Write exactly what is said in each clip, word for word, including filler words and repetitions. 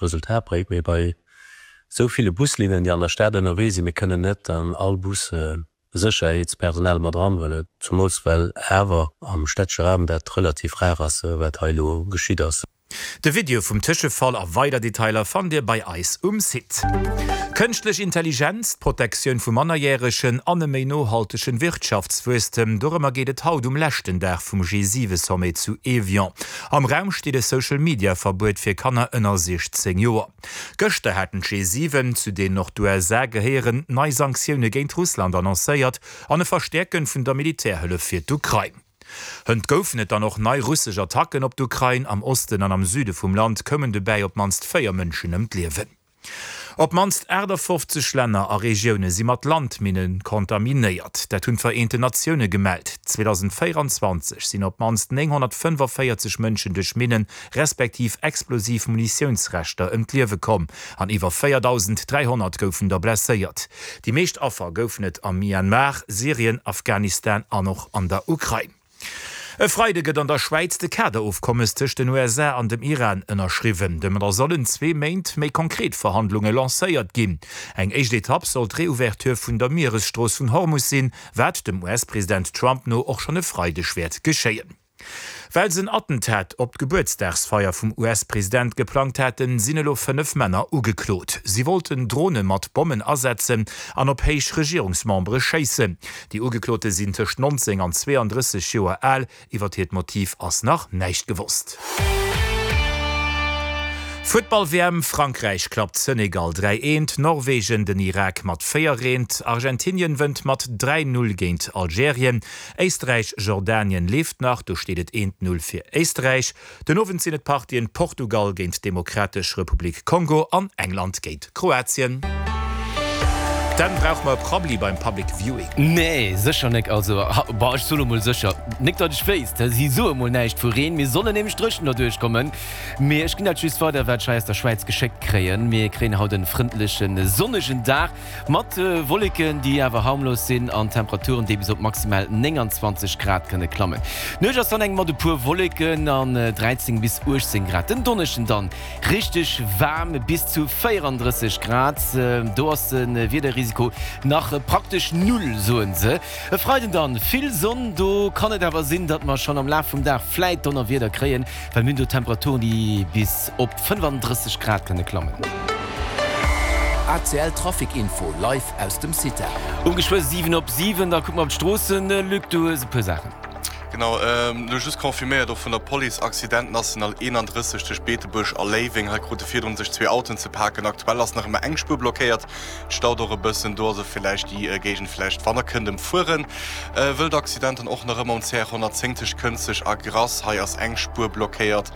Resultat bréngt. Mee bei esou ville Buslinnen, déi an der Stad ënnerwee sinn, mir kënnen net an all Bus Sécherheetspersonal mat eranhuelen, zumools well awer am städtesche Raum dat relativ rar ass, wat hei elo geschitt ass. De Video vum Tëschefall a weider Detailer fannt Dir bei eis um Site. Kënschtlech Intelligenz, d'Protektioun vu Mannerjäregen an e méi nohaltegen Wirtschaftswuesstem, dorëmmer geet et haut um leschten Dag vum G siwe Sommet zu Evian. Am Raum steet e Social Media Verbuet fir Kanner ënner siechzéng Joer. Gëschter haten d'G siwen, zu deenen och d'U S A gehéieren, nei Sanktioune géint Russland annoncéiert an e Verstäerken vun der Militärhëllef fir d'Ukrain. Hënt goufen et dann och nei russesch Attacken op d'Ukrain. Am Osten an am Süde vum Land koumen dobäi op d'mannst véier Mënschen ëm d'Liewen. Op d'mannst aachtafoffzeg Länner a Regioune si mat Landminne kontaminéiert. Dat hunn d'Vereenten Natioune gemellt. zweedausendvéieranzwanzeg sinn op d'mannst nénghonnertfënnefavéierzeg Mënschen duerch Minnen, respektiv explosiv Munitiounsreschter ëm d'Liewe komm an iwwer véierdausend dräihonnert goufen der blesséiert. Déi meescht Affer goufen et am Myanmar, Syrien, Afghanistan an och an der Ukrain. E Freide gëtt an der Schwäiz de Kaderofkommes tëscht den U S A an dem Iran ënnerschriwwen. Domadder sollen zwee Méint méi konkret Verhandlunge lancéiert ginn. Eng éischt Etapp soll d'Reouverture vun der Mieresstrooss vun Hormus sinn, wat dem U S-President Trump no och schonn e Freideg wäert geschéien. Well se en Attentat op d'Gebuertsdagsfeier vum U S-President geplangt haten, sinn elo fënnef Männer ugeklot. Si wollten Drone mat Bommen asetzen an op héich Regierungsmembere schéissen. Déi Ugeklote sinn tëscht nonzéng an zweeandrësseg Joer al. Iwwer hiert Motiv ass nach näischt gewosst. Futtball-W M, Frankräich klappt Senegal dräi eent, Norwegen den Irak mat véier eent, Argentinien wënnt mat dräi null géint Algerien, Éisträich Jordanien leeft nach, do steet et eent null fir Éisträich. Den Owend sinn et d'Partien Portugal géint d'Demokratesch Republik Kongo an England géint Kroatien. Dann brauche mer e Prabbeli beim Public Viewing. Nee, sécher nek. Also, bah, ech soe lo mol sécher nek, datt ech wéisst. Si soe mol näischt vu Reen. Mir sollen nämlech dréchen derduerch kommen. Mee ech ginn dat just weider, wat ech hei aus der Schwäiz geschéckt kréien. Mir kréien haut en frëndlechen, sonnegen Dag mat Wolleken, déi awer harmlos sinn, an Temperaturen, déi bis op maximal nénganzwanzeg Grad kënne klammen. D'Nuecht ass dann eng mat e puer Wolleken an dräizéng bis uechtzéng Grad. Den Donneschden dann richteg waarm, bis zu véierandrësseg Grad. Do ass de Wiederrisiko nach praktesch null, soen se. E Freiden dann vill Sonn, do kann et awer sinn, datt mer schonn am Laf vum Dag vläit Donnerwieder kréien, well mir hunn do Temperaturen, déi bis op fënnefandrësseg Grad kënne klammen. A C L Trafic Info live aus dem CITA. Um geschwë siwen op siwen, da kucke mer op d'Stroossen. Luc, du hues e puer Saachen. Genau, elo just confirméiert och vun der Police, Accident National eenandrësseg tëscht Beetebuerg a Léiweng. Hei krute virdrun sech zwee Autoen ze paken. Aktuell ass nach ëmmer eng Spuer blockéiert. Et staut och e bëssen do, also villäicht déi Géigend villäicht wann der kënnt ëmfueren. Wëllt Accident dann och nach ëmmer um C R honnertzéng tëscht Kënzeg a Grass. Hei ass eng Spuer blockéiert.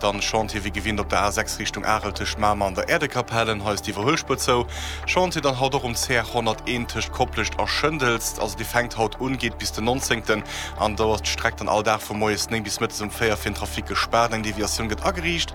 Dann Chantier wéi gewinnt op der A sechs Richtung Arel tëscht Mamer an der Äerdekapellen. Hei ass d'Iwwerhuelspuer zou. Chantier dann haut och um C R honnerteent tëscht Koplescht a Schëndels. Also dee fänkt haut un, geet bis den nonzéngten an do ass d'Streck dann all Dag vu moies néng bis mëttes um véier fir den Trafic gespaart. Eng Deviatioun gëtt ageriicht.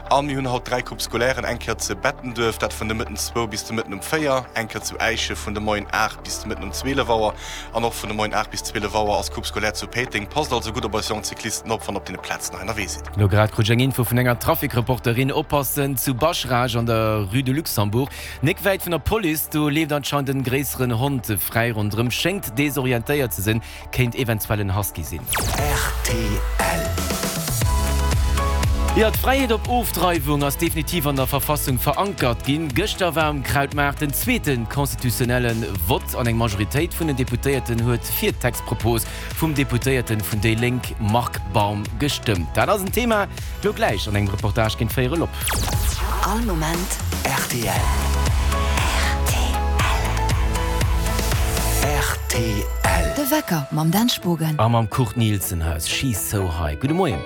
A mir hunn haut dräi Coupes scolairen, eng Kéier zu Bettenduerf, dat vun de Mëtten zwou bis de Mëtten um véier, eng Kéier zu Äische vun de Moien aacht bis de Mëtten um zwielef Auer an och vun de Moien aacht bis zwielef Auer ass Coupe scolaire zu Péiteng. Passt also gutt op eis jonk Cyclisten op, wann der op deene Plazen hei ënnerwee sidd. Elo grad krut ech eng Info vun enger Trafic-Reporterin, Oppassen zu Bascharage an der Rue de Luxembourg, nek wäit vun der Police, do leeft anscheinend en gréisseren Hond fräi ronderëm, schéngt desorientéiert ze sinn, kéint eventuell en Husky sinn. R T L. Jo, d'Fräiheet op Ofdreiwung ass definitiv an der Verfassung verankert ginn. Gëschter war um Krautmaart den zweete constitutionnelle Vott an eng Majoritéit vun den Deputéierten huet fir d'Textpropos vum Deputéierten vun déi Lénk Marc Baum gestëmmt. Dat ass en Thema lo gläich an engem Reportage géint véierel op. All Moment R T L. R T L. R T L. De Wecker mam Dan Spogen. A mam Kurt Nilsen hei ass She's So High. Gudde Moien.